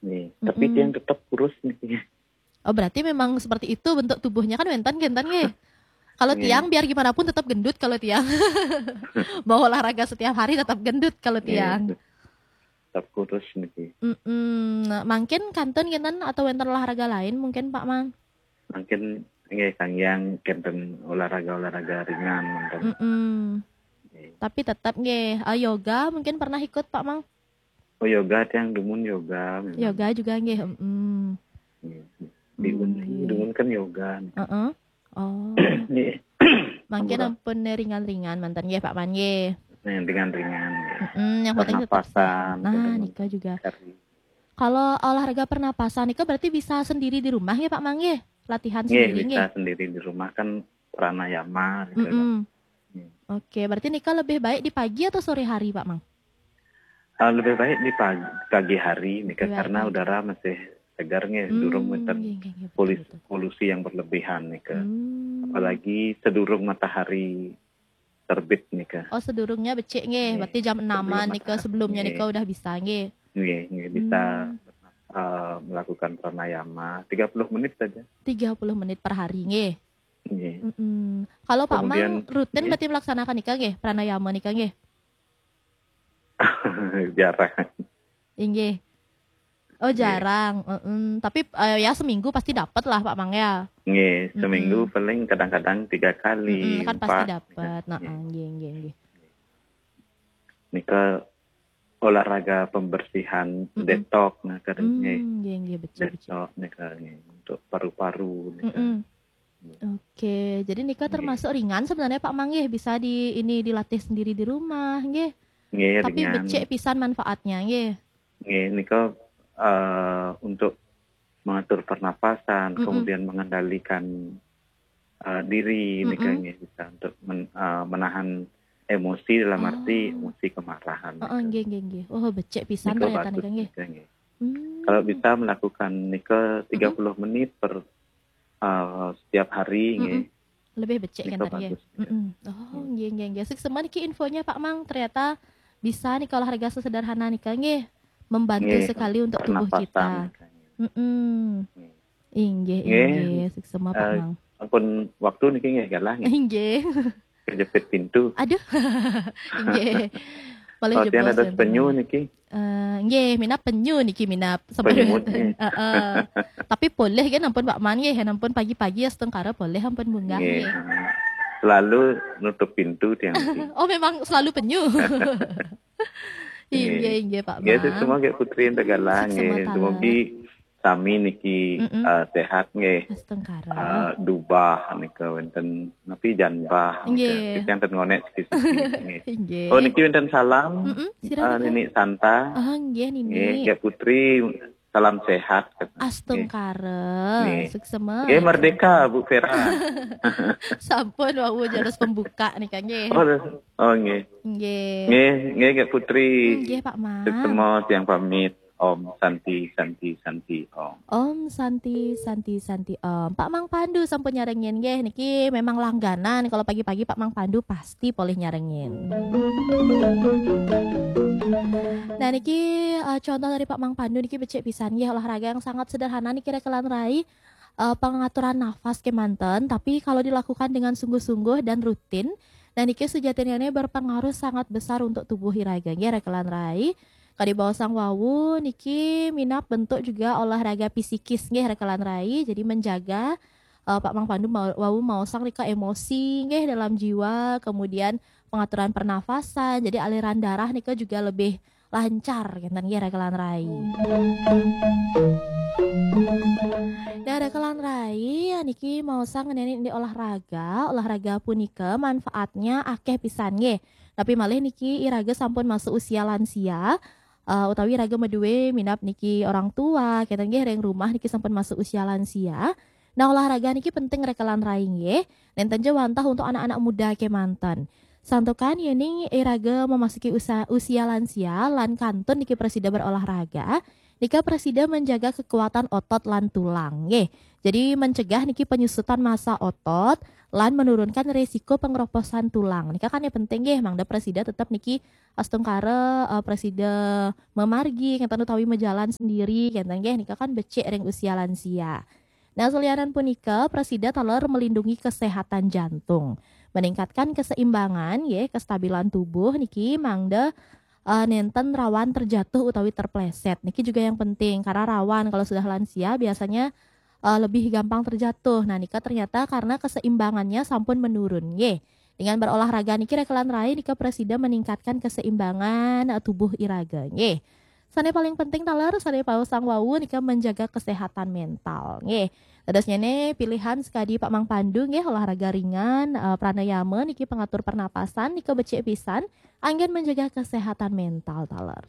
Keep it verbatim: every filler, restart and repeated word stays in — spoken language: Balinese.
Nggih. Tapi tiang tetap kurus niki. Oh, berarti memang seperti itu bentuk tubuhnya kan wénten, wénten nggih. Kalau Nggih. Tiang biar gimana pun tetap gendut kalau Tiang. Mau olahraga setiap hari tetap gendut kalau Nggih, Tiang. Tetap kurus niki. Mm-mm. Nah, mungkin kantun kinten atau wénten olahraga lain mungkin Pak Mang? Mungkin nggih kanggé kinten olahraga-olahraga ringan mungkin. Mm-mm. Nggih. Tapi tetap nggih, eh, yoga mungkin pernah ikut Pak Mang? Oh, yoga tiang dumun yoga memang. Yoga juga nggih. Mm-mm. Nggih. Di Hmm, Unhing iya. Dumun kan yoga. Heeh. Oh. Nggih. Mungkin Ampura. Ampun ringan-ringan manten nggih Pak Mang nggih. Nah, yang ringan-ringan. Nggih. Mm-mm, yang penting tetap Pernapasan, sehat. Nah, gitu. nika juga. Cari. Kalau olahraga pernapasan nika berarti bisa sendiri di rumah ya Pak Mang nggih? Latihan Nggih, sendiri bisa nggih. Sendiri di rumah kan pranayama gitu. Mm-mm. Hmm. Oke, berarti nika lebih baik di pagi atau sore hari Pak Mang? Ah, lebih baik di pagi, pagi hari nika Lebih baik karena pagi. Udara masih segar nggih, Hmm, durung wénten nggih, nggih, nggih, betul, polus- betul. Polusi yang berlebihan nika. Hmm. Apalagi sedurung matahari terbit nika. Oh, sedurung nya becik nggih, Nggih. berarti jam enaman Sebelum nika, matahari. Sebelum nya Nggih. Nika udah bisa nggih. Nggih, nggih, bisa Hmm. eh, melakukan pranayama tiga puluh menit saja. Tiga puluh menit per hari nggih. Nggih. Mm-mm. Kalau Pak Mang Kemudian, rutin nggih. Berarti melaksanakan nika nggih, pranayama nika nggih? Jarang. Inggih. Oh, Nggih. Jarang. Mm-mm. Tapi eh, ya seminggu pasti dapat lah Pak Mang ya. Nggih, Mm-mm. Seminggu paling kadang-kadang tiga kali, Mm-mm, kan pasti empat. Dapat. Nah, Nggih. Nggih, nggih, nggih. Nika olahraga pembersihan, Mm-mm. Detox nah kan Hmm, nggih. Nggih, nggih, becik, becik. Detox nika nggih, untuk paru-paru nika. Mm-mm. Oke, jadi nika Nggih. Termasuk ringan sebenarnya Pak Mang nggih, bisa di ini dilatih sendiri di rumah nggih. Nggih, Tapi ringan. Becik pisan manfaatnya nggih. Nggih, nika eh, untuk mengatur pernapasan, Mm-mm. Kemudian mengendalikan eh, diri nika Mm-mm. Nggih, bisa untuk men- eh, menahan emosi dalam arti Oh. Emosi kemarahan. Heeh, Nika. Nggih, nggih, nggih. Oh, becik pisan Nika ternyata bagus nika nggih. Nika Nggih. Hmm. Kalau bisa melakukan nika tiga puluh menit per eh, setiap hari nggih. Mm-mm. Lebih becik kan Nika tadi ya. Bagus. Mm-mm. Oh, nggih, nggih, nggih. Suksma niki infonya Pak Mang, ternyata bisa nih kalau olahraga sesederhana nika nggih membantu Nggih, sekali untuk tubuh pernapasan kita. nika. Mm-mm. Nggih. Inggih, Nggih. Inggih. Suksma Pak Eh, Mang. Ampun waktu niki nggih galah nggih. Inggih. Kejepit pintu. Aduh. Inggih. Boleh Latihan jebos ada wonten penyu malih. Niki. Eh, nggih, minap penyu niki minap. Penyu, nggih. Heeh. Tapi boleh kan ampun Pak Mang nggih, ampun pagi-pagi ya setengkara boleh ampun munggah Nggih. nggih. Selalu nutup pintu tiang niki. Oh, memang selalu penyu. Inggih, Nggih. Inggih Pak Nggih, Mang. Semua nggih Putri ente galah Suksma nggih. taler. Dumugi sami niki Mm-mm. eh, sehat nggih. Setengkara. Eh, dubah nika wonten napi janbah nika. Nggih. Kita enten ngonek sedikit nggih. Inggih. Oh, niki wonten salam. Mm-mm, sira Eh, nika. Nini Santa. Ah, nggih, Nini. Nggih, nggih Putri, salam sehat. Astungkara. Nggih. Suksma. Nggih, merdeka Bu Vera. Sampun wau jurus pembuka nika nggih. Oh, oh nggih. Nggih. Nggih, nggih nggih Putri. Nggih Pak Mang. Semua tiang pamit. Om Santi, Santi, Santi, Om. Om Santi, Santi, Santi, Om. Pak Mang Pandu sampun nyarengin nggih. Niki memang langganan kalau pagi-pagi Pak Mang Pandu pasti polih nyarengin. Nah, niki eh, contoh dari Pak Mang Pandu niki becik pisan nggih, olahraga yang sangat sederhana niki rekelan rai. Eh, pengaturan nafas kemanten, tapi kalau dilakukan dengan sungguh-sungguh dan rutin, nah niki sejatinya ini berpengaruh sangat besar untuk tubuh iraga nggih rekelan rai. Kadi baosang wau niki minap bentuk juga olahraga psikis nggih rekelan rai. Jadi menjaga eh, Pak Mang Pandu mau- wau maosang nika emosi nggih dalam jiwa, kemudian pengaturan pernafasan, jadi aliran darah nika juga lebih lancar kinten nggih rekelan rai. Nah, rekelan rai niki maosang ngeneni di olahraga, olahraga punika manfaatnya akeh pisan nggih. Tapi malih niki iraga sampun masuk usia lansia, eh, utawi iraga maduwe minap niki orang tua, kinten nggih ring rumah niki sampun masuk usia lansia. Nah, olahraga niki penting rekelan rai nggih. Nenten ja wantah untuk anak-anak muda kemanten. Santukan yening iraga memasuki usa- usia lansia lan kantun niki prasida berolahraga, nika prasida menjaga kekuatan otot lan tulang nggih. Jadi mencegah niki penyusutan massa otot lan menurunkan resiko pengeroposan tulang. Nika kan yang penting nggih, mangda presida tetap niki astungkara eh, presida memargi ngenten utawi mejalan sendiri ngenten nggih, nika kan becik ring usia lansia. Nah, selianan punika presida taler melindungi kesehatan jantung, meningkatkan keseimbangan nggih, kestabilan tubuh niki mangda eh, nenten rawan terjatuh utawi terpleset. Niki juga yang penting karena rawan kalau sudah lansia biasanya eh, lebih gampang terjatuh. Nah, nika ternyata karena keseimbangannya sampun menurun nggih. Dengan berolahraga niki rekelan rai nika presida meningkatkan keseimbangan eh, tubuh iraga nggih. Sane paling penting taler sane pausang wau nika menjaga kesehatan mental nggih. Dados nyene pilihan sekadi Pak Mang Pandu nggih, olahraga ringan, eh, pranayama niki pengatur pernapasan nika becik pisan anggen menjaga kesehatan mental taler.